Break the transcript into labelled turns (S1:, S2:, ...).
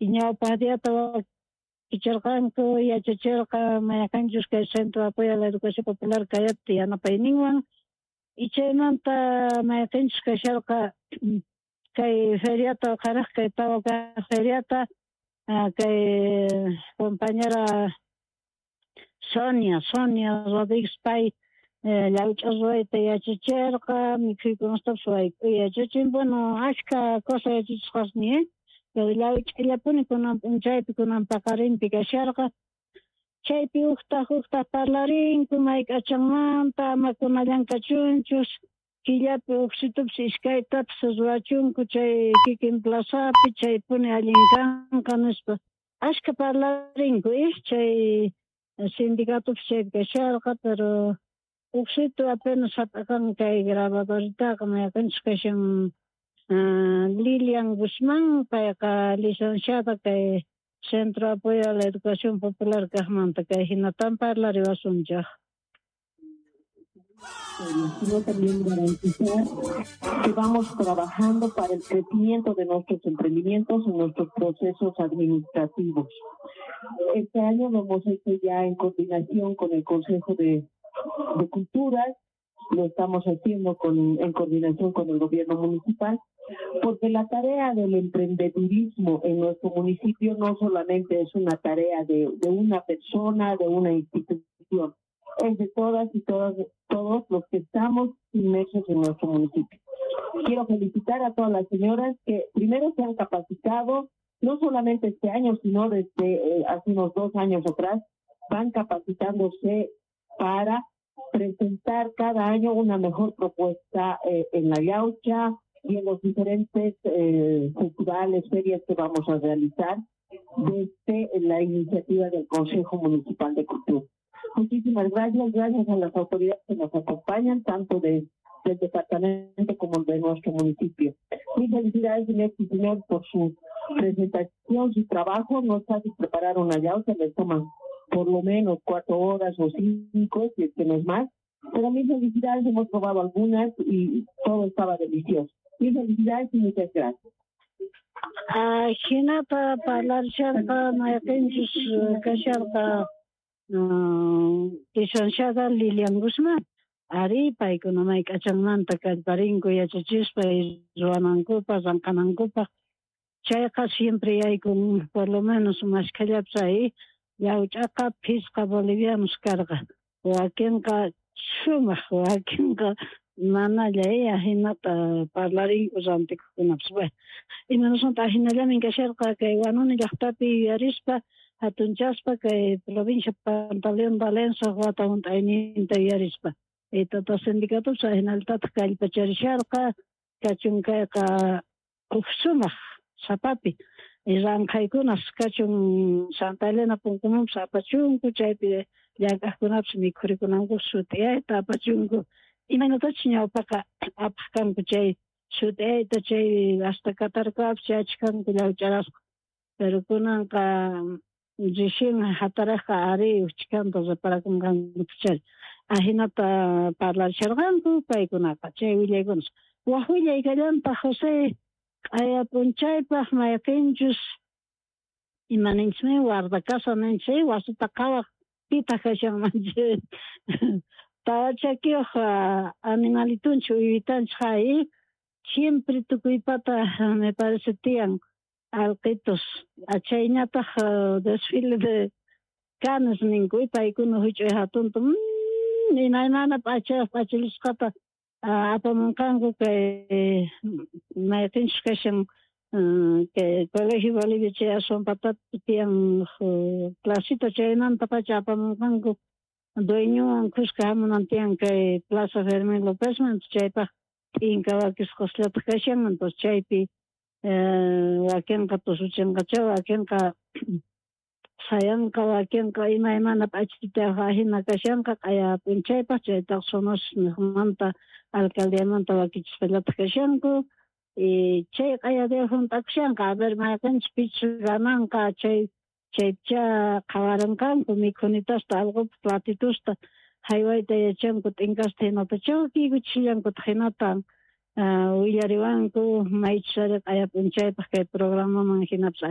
S1: Y ñawpaq diata wakicherqanku, yachacherqa mayqanchus kay Centro de Apoyo a la Educación Popular kayapti yanapayninwan. Y chaymanta mayqinchus kasharqa kay feriata uqharaj kay tawa kaq feriata kay compañera Sonia Rodríguez pay llawch'a ruwayta yachacherqa, mikhuykunastapis wayk'uy yachachin, bueno, ashka cosa yachachisqasni, pero llawch'allapuni kunan p'unchaypi kunan paqarinpi kasharqa. Chaypi uqtaq uqtaq parlarinku mayk'achanmanta, ama kunallan kachunchus, killapi uqsitupis iskaytapis ruwachunku chay kikin plazapi, chaypuni allin kanqa nispa. Ashka parlarinku, chay sindicatopis chaypi kasharqa, pero uqsitu apenas hap'aqan kay grabadoritaqa mayqinchus kashan Lilian Guzmán, payqa licenciada kay Centro de Apoyo a la Educación Popular kaqmanta kay hinatan parlariwasunchaq.
S2: Sino también garantizar que vamos trabajando para el crecimiento de nuestros emprendimientos en nuestros procesos administrativos. Este año lo hemos hecho ya en coordinación con el Consejo de Culturas, lo estamos haciendo en coordinación con el gobierno municipal, porque la tarea del emprendedurismo en nuestro municipio no solamente es una tarea de una persona, de una institución, es de todas y todos los que estamos inmersos en nuestro municipio. Quiero felicitar a todas las señoras que primero se han capacitado, no solamente este año, sino desde hace unos 2 años atrás, van capacitándose para presentar cada año una mejor propuesta en la Yaucha y en los diferentes festivales, ferias que vamos a realizar desde la iniciativa del Consejo Municipal de Cultura. Muchísimas gracias, gracias a las autoridades que nos acompañan, tanto del departamento como de nuestro municipio. Mis felicidades, señor y señor, por su presentación, su trabajo. No es fácil preparar una yaucha, les toman por lo menos 4 horas o 5, si es que no es más. Pero mis felicidades, hemos probado algunas y todo estaba delicioso. Mis felicidades y muchas gracias.
S1: Hinata parlarcharqa mayqinchus kasharqa licenciada Lilian Guzmán. Ari paykuna mayk'achanmanta kallparinku yachachispa ruwanankupaq, ranqanankupaq. Chayqa siempre yaykun por lo menos mashkhallapis ahí llawch'aqa phisqa bolivianos karqa. Wakinqa sumaq, wakinqa manalla ahinata parlarinku rantikuqkunapis. Bueno, imanasmanta ahinallamin kasharqa kay Huanuni llaqtapi yuyarispa hatunchaspa kay provincia Pantaleón Valencia wata hunt'ayninta yuyarispa. Tata sindicatopis ahinallatataq kallpacharisharqa, kachun kayqa huk sumaq sapapi. Ranqhaykunas kachun Santa Elena punkumanpis apachunku, chaypi llank'aqkunapis mikhurikunanku sut'iyayta apachunku. Imaynatachus ñawpaqa apaq kanku chay sut'iyayta, chay hasta Katarkapis chayachkanku llawch'arasqa. Pero kunanqa recién hatarajqa ari uchkanta reparakunqankuchari. Ahinata parlarisharqanku paykunaqa chay willaykunas. Waj willay kallantaq José q'aya p'unchaypaq mayqinchus imaninchikmi guardacasa ninchik, wasita qhawaq pitaq kashanmanchik. Tawa chakiyuq animalitunchik uywitanchik hay siempre tukuypata me parece tiyan alqitos. Chayñataq desfile de canes ninku, paykuna huch'uy hatunta imaymana p'achayuq p'achilisqata apamunqanku kay mayqinchus kashan kay Colegio Bolivia chay aswan patapi tiyan placita chaymantapacha apamunqanku dueñowan kuska hamunan tiyan kay Plaza Fermín Lópezman, chaypaq t'inka wakisqasllataq kashan, entonces chaypi wakinqa tusuchinqacha, wakinqa sayanqa, wakinqa imaymana p'achitayuq ahina kashanqa q'aya p'unchaypaq, chaytaq Sonos niqmanta alcaldiamanta wakichispallataq kashanku. Y chay q'aya día hunt'akushanqa, a ver mayqinchus pichus gananqa chay chaypicha qhawaranqanku mikhunitasta alqupaq platitusta haywayta yachanku t'inkasta hinata chawkiykuchishallankutaq hinata willariwanku maychus ari q'aya p'unchaypaq kay programaman hinapis.